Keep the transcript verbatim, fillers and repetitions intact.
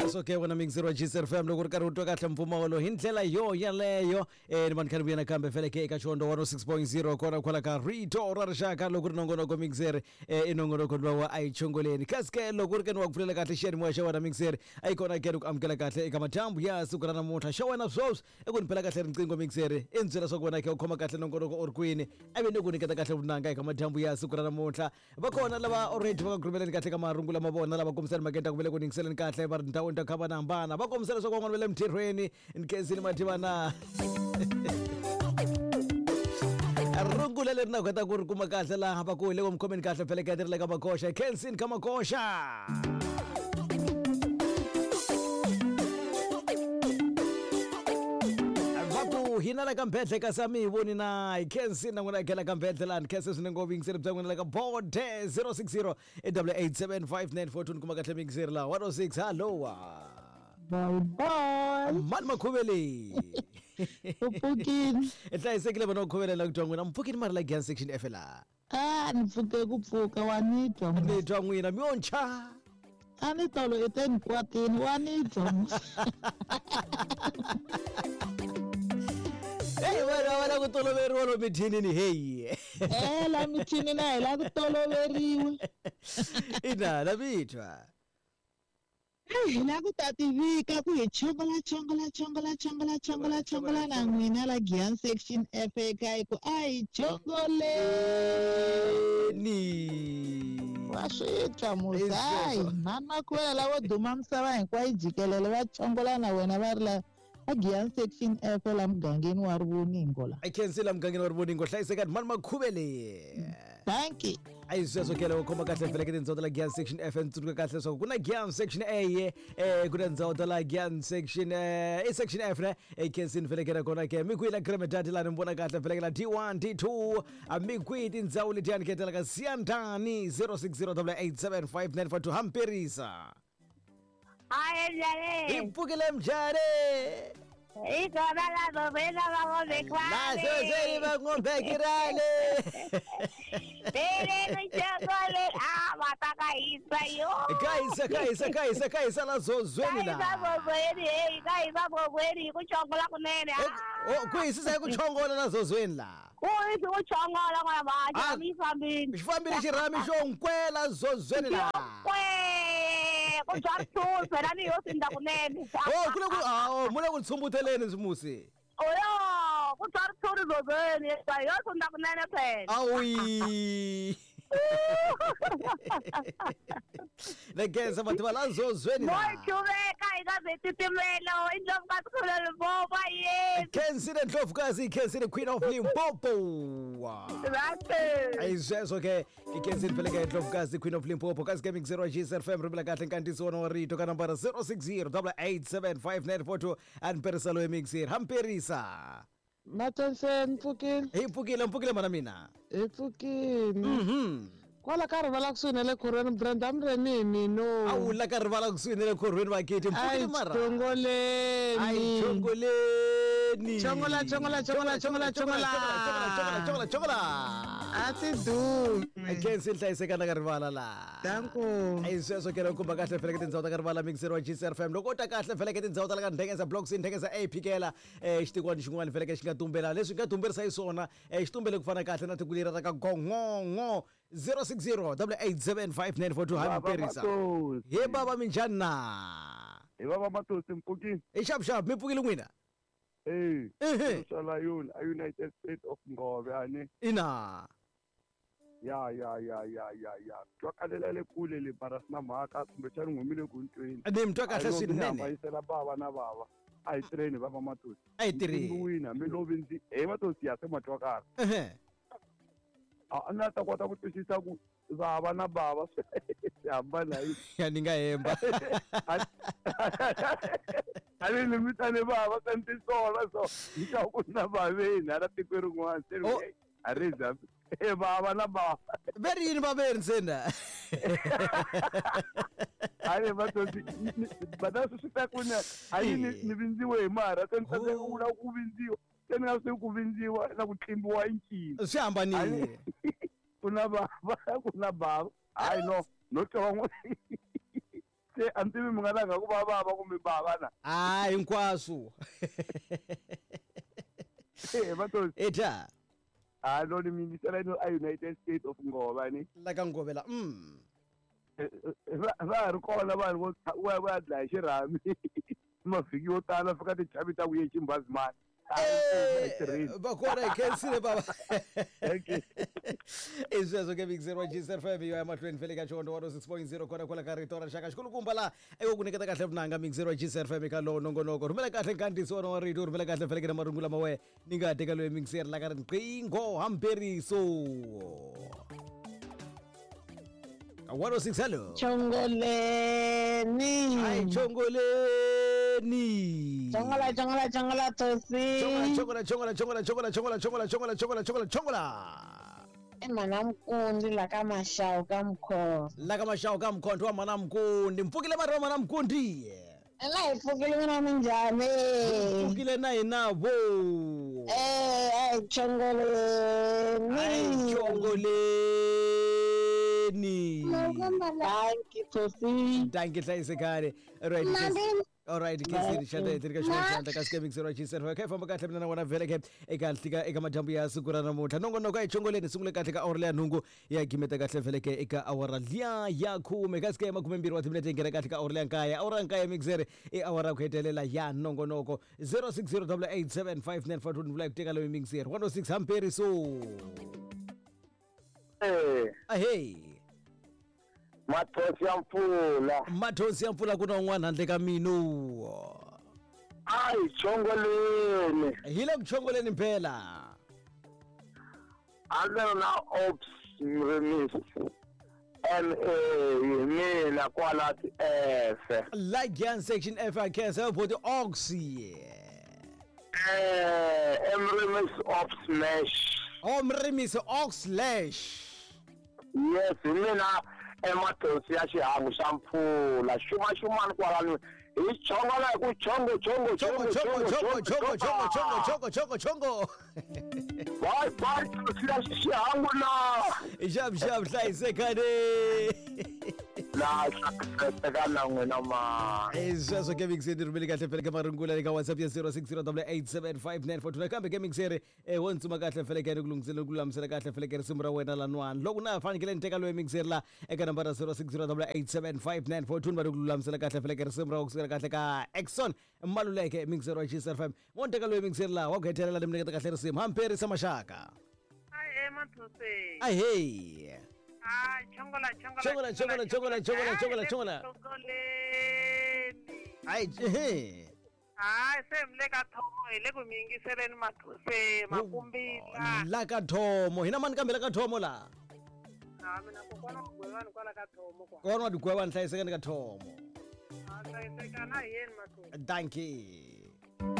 Sweswo ke wena mixer wa G S F M loko ri karhi u twa kahle mpfumawulo hi ndlela yo yaleyo eh ni vanhu khale vuya nakambe vhele ke eka Xiondo one oh six point zero kona kwala ka Rito ra Rixaka loko ri nongonoko mixer eh i nongonoko lowa wa a hi chongoleni kasi ke loko ri ke ni wa ku pfulela kahle xiyanimoya xa wena mixer a yi kona ke ni ku amukela kahle eka madyambu ya siku ra namuntlha xa wena sweswi i ku ni phela kahle riqingho mixer i ni byela swa ku wena ke u khoma kahle nongonoko u ri kwini a vi ni ku nyiketa kahle vunanga eka madyambu ya siku ra namuntlha va kona lava already va ka rhumeleni kahle ka marungu lama vona lava kombisani makenda ku vele ku ningiseleni kahle va ri ndhawini ta ku hambanahambana va kombisela leswaku van'wana va le mintirhweni nkhensini mativana rungula leri na kota ku ri kuma kahle laha va ku hi le ku mi khomeni kahle phelekete ri le ka makoxa khensini ka makoxa hina la ka mbedle kasi a mi hi voni na hi khensini na n'wina hi khela ka mbedle lani khense swinene ngopfu yingiseri bya n'wina la ka bode zero six zero double eight seven five nine four two ni kuma kahle miyingiseri laha one oh six hallowa bye bye mani makhuvele u pfukini i hlayisekile vona ku khuvelela ku twa n'wina mi pfukini mari la Giyani section F la a ni pfuke ku pfuka wa ni twa ni twa n'wina mi yontshwa a ni tolo i te ni kwatini wa ni twa Hey wena wena ku toloveriwa lo mithinini hey eh la mithinini na hi la ku toloveriwa ina la mitwa hi la ku ta tivika ku hi chongola chongola chongola chongola chongola chongola na n'wina la Giyani section F eka ku a hi chongoleni wa swi twa muzayi mama kuwela lavo duma misava hinkwayo jikelele va chongola na wena va ri la Giyani section F la mugangeni wa Rivoningo la I can see la mugangeni wa Rivoningo hlayiseka mani makhuvele thank you a yi sweswo ke loko khoma kahle vhele ke tindhawu ta la Giyani section F ni tsundzuka kahle leswaku ku na Giyani section A eh ku na ndhawu ta la Giyani section eh i section F ne e khensini vhele ke na kona ke mi kwihi la Gremedadi la ni vona kahle vhele ke la D one D two a mi kwihi tindhawu letiyani ke tela ka Siyandani zero six zero double eight seven five nine four two hamperisa Hi mjale. Hi pfukile mjale. Ikona la zozweni va ngombe La zozweni va ngombe kirale. Bele ni chongole a mata ka hisa yo. Ka hisa ka hisa ka hisa ka hisa la zozweni la. Ka hisa zozweni hey ka hisa zozweni ku chongola kunene. Oh ku hisisa ku chongola la zozweni la. Ku hisa ku chongola n'wana va xirhami fambile. Xi fambile xirhami xo nkwela zozweni la. Kwe ku bya ritshuri phela ni yo sindza kunene. Oh ku le ku ah mu le ku tsumbuteleni musi. Oyo ku bya ritshuri zozweni yo sindza kunene phela. Awi. Legenza batho ba la zozweni la. Mo chuveka hi ka zetitimelo indlovukazi khulu Limpopo yes. Khensile Ndlovukazi Khensile Queen of Limpopo. Right. Ayi sweswo ke Khensile phela ke Ndlovukazi Queen of Limpopo kasi ke mixer wa G S F M rivela kahle nkantiso wona wa rito ka nambara zero six zero double eight seven five nine four two and perisa lo mixer hamperisa. Matensen mpfukile. Hi pfukile mpfukile mana mina. Hi pfukile. Mhm. Kwala ka rivala kusuhi na le khorweni Brenda Mremini no. A wu la ka rivala kusuhi na le khorweni vakiti mpfukile mara. Ai chongoleni. Ai chongoleni. Chongola chongola chongola chongola chongola. Chongola chongola chongola. A ti dumi. I can't see hlayiseka na ka rivala la. Danko. Ai sweswo ke loko kumba kahle vhele ke tindhawu ta ka rivala mixer wa G S F M loko u ta kahle vhele ke tindhawu ta la ka Ndhengeza blocks Ndhengeza A phikela eh xitikwana xin'wana vhele ke xi nga tumbela leswi nga tumberisa hi swona eh xi tumbele ku fana kahle na tiko leri ra ka Gongongo zero six zero double eight seven five nine four two hamperisa. He baba minjhani na? Hi baba Matosi mpfukini. I xap xap mi pfukile n'wina? Eh. Ehe. Sala yona a United States of Ngove ani. Ina. Ya ya ya ya ya ya. Twakalela le kule le bara sina mhaka kumbexana n'wi humile ku ntweni. Ni mi twa kahle swinene. Bayisela bava na bava. A hi tirheni baba Matosi. A hi tirheni. Wina mi lovi ndzi he Matosi ya se matwakala. Ehe. A na ta kota ku twisisa ku bava na bava swi hambana hi. Ya ni nga hemba. A ni ni mitane bava ka ntisola so ni ka ku na baveni ala tiko rin'wana se a ri za e bava na bava. Veri yini vaveri ntsena. A Matosi bada swi ta ku na a yi ni vindziwe hi mara se ni tsandzeka ku vula ku vindziwa. Se ni nga swi ku vindziwa na ku tlimbiwa i ncini. Swi hambanile. Ku na bava ku na bava. Hayi no no twa van'wana Se a ni tivi mi nga langa ku va vava kumbe bava na. A hinkwaswo. Eh Mathosi. Eta. A no ni mingisela ino a United States of Ngova ni. La ka Ngovela. Mm. Va va ri kona vanhu vo va va dlaya xirhami. Mavhiki yo tala fika tichavi ta ku ye Chimbazimani. Va kona hi khensile baba. I sweswo ke Big Zero G Z five yo ya mahlweni fele ka Chondo one oh six point zero kona kwala ka rito ra xaka xikulukumba la eko ku nyiketa kahle vunanga Big Zero G Z five ka lowo nongonoko rhumela kahle nkandziyiso wona wa rito rhumela kahle fele ke na marungula ma wehe ni nga teka loyi Big Zero la ka riqingho hamberiso one oh six hello Chongoleni. Ai chongoleni. Chongola chongola chongola tosi. Chongola chongola chongola chongola chongola chongola chongola chongola chongola chongola. E mana mkundi la ka mashao ka mkhondo. La ka mashao ka mkhondo wa mana mkundi. Mpfukile mara wa mana mkundi. Ela hi pfukile mina minjhani? Mpfukile na hina vo. Eh ai chongoleni. Ai chongoleni. Thank you Tosi. Thank you hlayisekani. Right. All right, ke xana hi tirhika xin'wana xandla ka Scaming Zero G seven. Okay, famba kahle mina na wona vhele ke eka hlika eka madyambu ya siku ra namuntlha. Nongonoko a hi chongoleni sungule kahle ka awara leya nhungu ya gimeta kahle vhele ke eka awara liya ya khume ka scam khume mbirhi wa timinete yi nghena kahle ka awara leya nkaye. Awara nkaye mixer i awara ku hetelela ya nongonoko zero six zero double eight seven five nine four two ni vula ku teka loyi mixer one oh six hamperiso. Eh. Ahey. Mathosi ya mpfula. Mathosi ya mpfula ku na un'wana handle ka mino. Ai chongoleni. Hi le ku chongoleni phela. A ndzi na Ops Mrimis M A mina kwala ti F. Lagian section F I K S for the Ox. Eh Mrimis Ops Mesh. Oh Mrimis Ox Lash. Yes, mina emathosi ya xihangu xa mpfula xuma xumani kwalano hi chongola hi ku chongo chongo chongo chongo chongo chongo chongo chongo chongo chongo chongo bye bye thosi ya xihangu na xap xap hlayisekani la hlayisekana na n'wina ma sweswo ke mixer ni rhumeli kahle fele ka marungula eka WhatsApp ya zero six zero double eight seven five nine four two nakambe ke mixer eh wo ntsuma kahle fele ke ni ku lunghisela ku lulamisela kahle fele ke risimu ra wena lanwani loko na fanekele ni teka loyi mixer la eka nambara zero six zero double eight seven five nine four two ni va ni ku lulamisela kahle fele ke risimu ra kusukela kahle ka Exxon Maluleke mixer wa G S F M wo ni teka loyi mixer la wa ku hetelela ni mi nyiketa kahle risimu hamperisa maxaka Ai Mathosi. Ahey. Ah, chongola chongola chongola chongola chongola chongola chongola chongola. Ai eh. Ah, se mle ka thomo hi le ku mi yingiseleni Mathosi makumbila. La ka thomo hina mani kambe la ka thomo la. Ah, mina kokwana Gwevani kwala ka thomo kwa. Kokwana wa Gwevani hlayisekani ka thomo. Ah, hlayisekana hi yena Mathosi. Thank you.